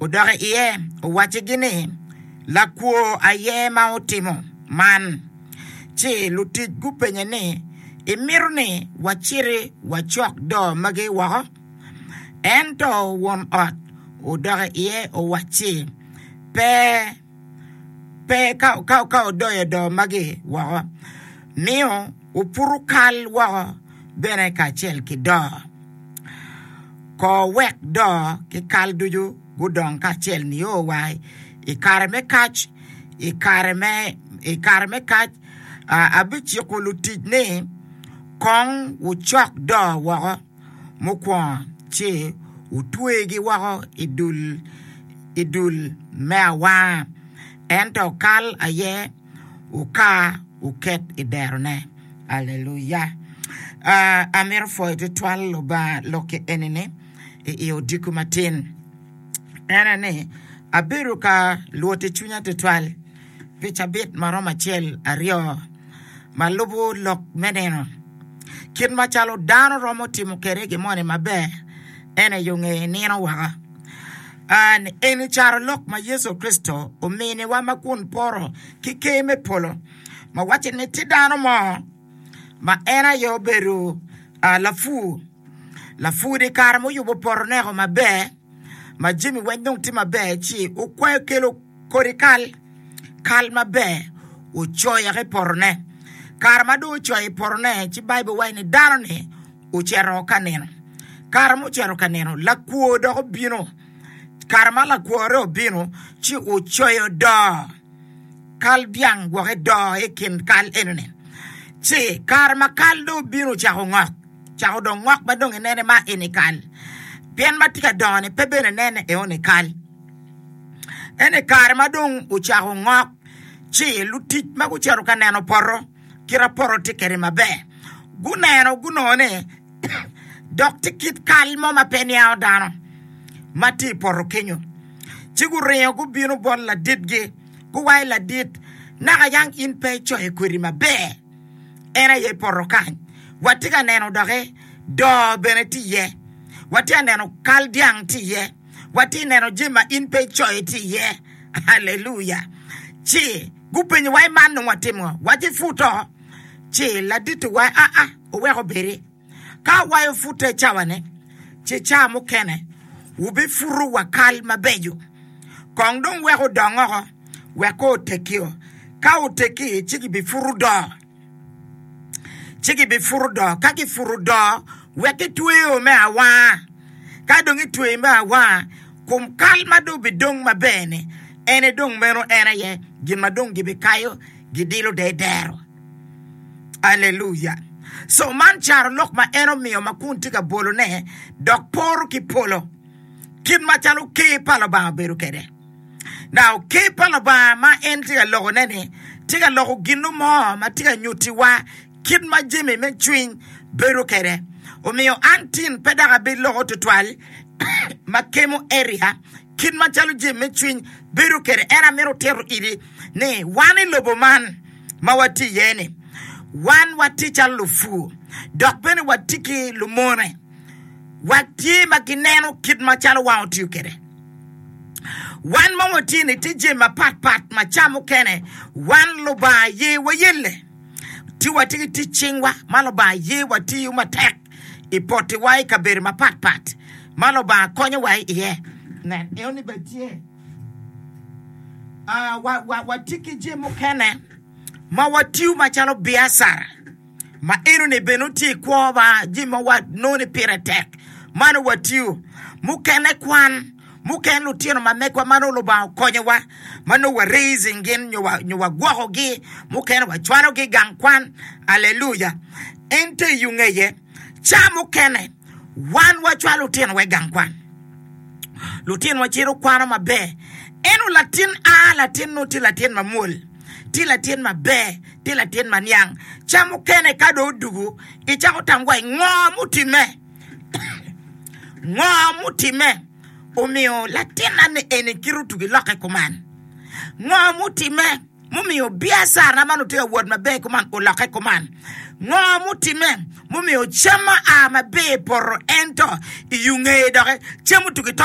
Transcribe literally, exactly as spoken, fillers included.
Odok iye owaccigi ni, Lakwo aye ma otimo man. Ci lutic gupenye ni, Imito ni waciti wacok doo magi woko? Ento won ot odok iye owacci, Pe, pe ka, ka, ka wudoyo doo magi woko, miyo wuputo kal woko bene kacel ki doo. Ko wek doo ki kal ducu gudong kacel nio wa i kare me kac. I kare me, i kare me kac, abiciko lutic ni, 'Kong wucok doo woko mukwongo, ci wutwegi woko i dul, i dul me awanga, ento kal aye wukar wuket i derone. Aleluya! Amito pwoyo tutwal Lubanga lokki eni-ni i odiko matin. En aye ni, abedo ka lwot i cwinya tutwal pi cabit ma romo acel aryo ma lubo lok me nino. Kit macalo dano romo timo kwede gin moni maber, en aye onge nino woko. Eni carolok ma Yecu Kricito ominiwa ma kun poro ki Ker me polo, ma waco ni tye dano mo ma en aye obedo lapur. Lapur i kare ma oyubo poto neko maber, ma jami weng dong tye maber, ci okwayo kelo kodi kal, kal maber, ocoyo i potone. Kare ma dong ocoyo i potone, ci Baibul waco ni dano-ni ocito ka nino. Kare ma ocito ka nino, lakwo dok obino. Kare ma lakworre obino, ci ocoyo doo kal dyang gwok edoo i kin kal enoni. Ci kare ma kal dong obino ocako ngok, ocako dong ngok ma dong inene ma eni kal, pien ma tye ka dongo-ni pe bene nene eoni kal. Ento i kare ma dong ocako ngok, ci lutic ma gucito ka neno poto, kit ma poto tye kwede maber, guneno gunongo ni dok tye kit kal mo ma pe niango dano ma tye i poto kenyo. Ci guringo gubino bot laditgi, guwaco ladit, naka yang in pe icoyo kwedi maber, en aye poto kany. Watye ka neno doki doo bene tye iye, watye ka neno kal dyang tye iye, watye ka neno jami ma in pe icoyo tye iye. Aleluya! Ci gupenyowa ni man dong watimo ngo? Waci put oko. Ci ladit owaco, Aa, wuwek obedi. Ka awayo pute i cawa-ni, ci ca mukene wubiputo wa kal mabeco. Kong dong wek odong oko, wek ko otekkio. Ka otekki, ci gibiputo doo. Ci gibiputo doo. Ka giputo doo, wek gitweyo me awanga. Ka dong itweyo me awanga, kom kal ma dong obidong maber-ni, ene dong meno en aye gin ma dong gibikayo gidilo de dero. Aleluya! So man carolok ma en omiyo ma kun tye ka bolone dok poro ki polo, kit macalo Ker pa Lubanga obedo kwede. Now, Ker pa Lubanga ma en tye ka lokone-ni tye ka loko gin mo ma tye ka nyutiwa kit ma jami me cwiny bedo kwede. Omiyo an tin pe dok abiloko tutwal ma kemo area kit macalo jami me cwiny bedo kwede. En amito tito iti ni wan i lobo man ma watye iye-ni, wan watye calo lupur dok bene watye ki lumone. Watye ma gineno kit macalo wan otiyo kwede. Wan ma watye-ni tye jami mapatpat ma ca mukene wan Lubanga ye wayelle. Ci watye ki tic cingwa ma Lubanga ye watiyo matek i potiwa i kabedo mapatpat ma Lubanga konyowa iye. Nen, enoni bene tye. Watye ki jami mukene ma watiyo macalo biacara ma enoni bene tye i kwowa, jami ma wanongo ni pire tek ma nongo watiyo. Mukene kwan, mukene lutino ma megwa ma nongo Lubanga okonyowa ma nongo wa raising gin nyo wagwokogi, mukene wacwalogi i gang kwan. Aleluya! Ento i yo ngeye, ca mukene wan wacwalo lutinowa i gang kwan. Lutinowa cito kwano maber. Ento latin a latin nongo tye latin mamwol, tye latin maber, tye latin ma niang. Ca mukene ka dong odugu, icako tam wa ngo mutimme? Ngo mutimme omiyo latinna ni eni kite otugi lokke kuman? Ngo mutimme mumiyo biacarana ma onongo tye ka wot maber kuman olokke kuman? Ngo mutimme mumiyo cam ma a maber i poto ento i yo ngeye doki cam otugi to?